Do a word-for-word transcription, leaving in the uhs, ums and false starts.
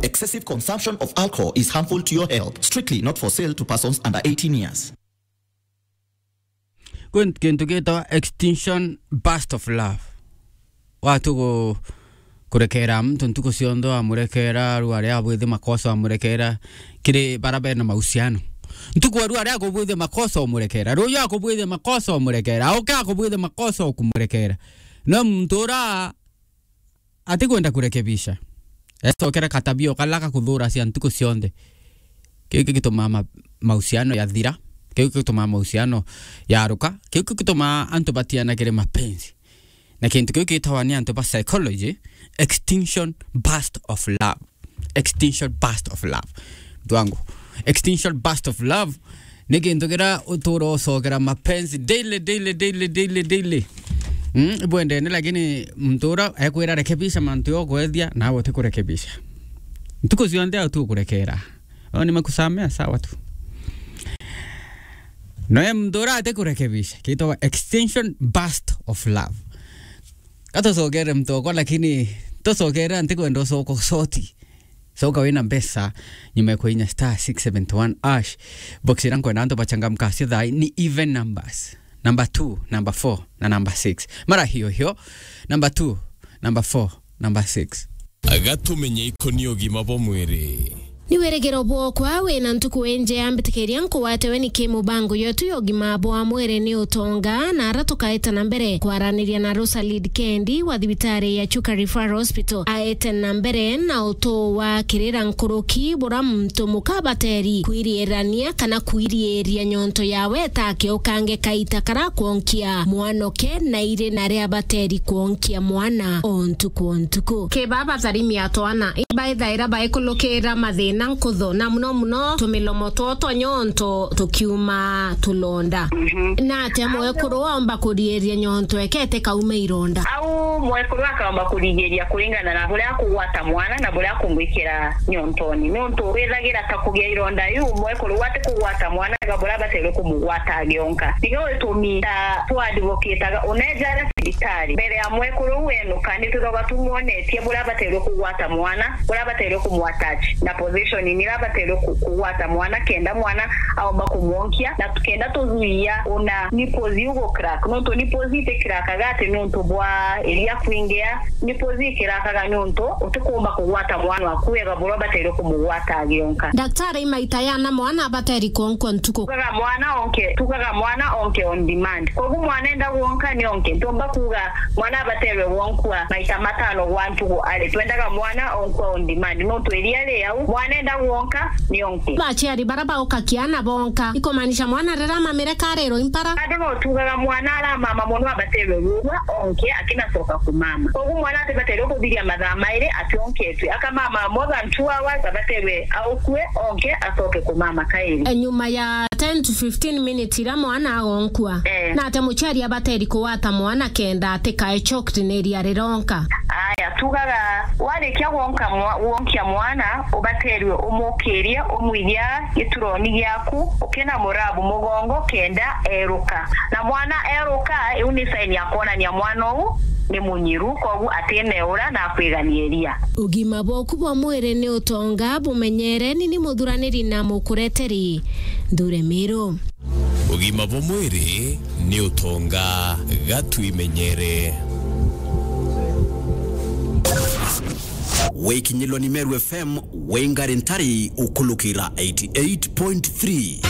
Excessive consumption of alcohol is harmful to your health. Strictly not for sale to persons under eighteen years. Kwin-, kintu gitawa extinction burst of love. Watu ku-, kurekera muntu ntuku cionthe, wamurekera, rua ria abwithi makosa wamurekera, kiri bara bena mahusiano. Ntuku ya rua ria akubwithi makosa umurekera, ruyu akubwithi makosa umurekera, auke akubwithi makosa ukumurekera. No muntu ura atikwenda kurekebisha. Ecokera katabia o kala ga kuthura cia ntuku cionthe. Kiu gigitumaa ma-, mahusiano yathira. Kiu gigitumaa mahusiano yaruka. Kiu gigitumaa antu batiana kiri mapenzi. Na kintu kiu gitawa ni antu ba psychology, extinction burst of love. Extinction burst of love. Mtu wangu, extinction burst of love ni kintu kiria utura ucokera mapenzi daily, daily, daily, daily, daily. Mm, ibwendene, lakini muntu ura ekwira rekebisha mantu yo kwethia, nawe utikurekebisha. Ntuku cionthe au tu ukurekera. Au nimekusamea, sawa tu. Noe muntu ura atikurekebisha, kitwa extinction burst of love. Katucokere muntu okwa, lakini tucokere antikwenda ucoka ucoti. Coka wina mbeca nyuma ya kuinya star six seventy one hash. Box ira nkwenda antu bachangamka cio thaa ni even numbers. Number two, number four, na number six. Mara hiyo hiyo, number two, number four, number six. Gatumenye ikoni ugima bwa mwiri. Ni wirigiro bwokwa wina ntuku injea, mbitikiria nkuwatewe ni ki mubango yetu ya ugima bwa mwiri ni utonga, na ara tukaeta na mbere kwaraniria na Rosalid Kendi wa thibitari ya Chuka Referral Hospital. Aete na mbere na utu wa kirira nkuruki bura muntu muka abateri kwiriirania kana kwiriiria nyonto yawe ta kiukange kaita kara kwonkia mwanoke na iri na ria abateri kwonkia mwana o ntuku o ntuku. Ki baba tharimia twana, ibaithaira baikulukira mathina nkutho, na muno muno tumilomo two twa nyonto tukiuma tulonda. Mhm. Na atia mwekuru waomba kuriiria nyonto ekete kaume ironda? Au mwekuru akaomba kurigiria kuringana na buria akugwata mwana na buria akumwikira nyontoni. Nontu withagira ta kugia ironda iu, mwekuru uu atikugwata mwana, tiga buria abateirwe kumugwata agionka. Nikio gitumi ta twa advocataga, uneja aria cibitari, mbere ya mwekuru uu enuka, ni twithagwa tumwonetie buria abateirwe kugwata mwana, buria abateirwe kumwatach na position iria abateirwe ku-, kugwata mwana, kenda mwana aomba kumwonkia, na kenda tuthuia ona nipples iu gu crack, nontu nipples iti crackaga ati nontu bwa iria kwingea, nipples i crackaga nontu utikuumba kugwata mwana waku wega buria ubateirwe kumugwata agionka. Daktari, maita yana mwana abateri kuonkwa ntuku? Tugaga mwana onke, tugaga mwana onke on demand. Koguo mwana enda gwonka ni onke. Ntumba kuuga mwana abaterwe gwonkua maita matano gwa ntugu ari. Twendaga mwana onkua on demand. Nontu iria ri au, mwana enda gwonka ni onke. Baciari bara bauka kiana bonka, ikumaanisha mwana riria amamire karirwa impara? Bado no tugaga mwana aramama mono abaterwe gwonka onke akinacoka kumama. Koguo mwana atibaterwe kuthiria mathaa mairi ationketwe. Akamama more than two hours, abaterwe aukue onke acoke kumama kairi. E, nyuma ya ten to fifteen minutes iria mwana agonkua, eh, na atia muciari abateri kugwata mwana kenda atikae choked ni iria rironka? Aya, tugaga warikia gwonka mwa-, gwonkia mwana, ubaterwe umukirie, umwithia gituroni giaku, ukina murabu mugongo kenda eruka. Na mwana eruka, iu ni sign ya kwonania mwana uu ni munyiru, koguo atineura na akwiganiria. Ugima bwaku bwa mwiri ni utonga, bumenyere ni ni muthuraniri na mukureteri. Nthure Miru. Ugima bwa mwiri ni utonga, gatwimenyere. Wikinyilwa ni Meru F M, wingari ntari ukulukira eighty eight point three.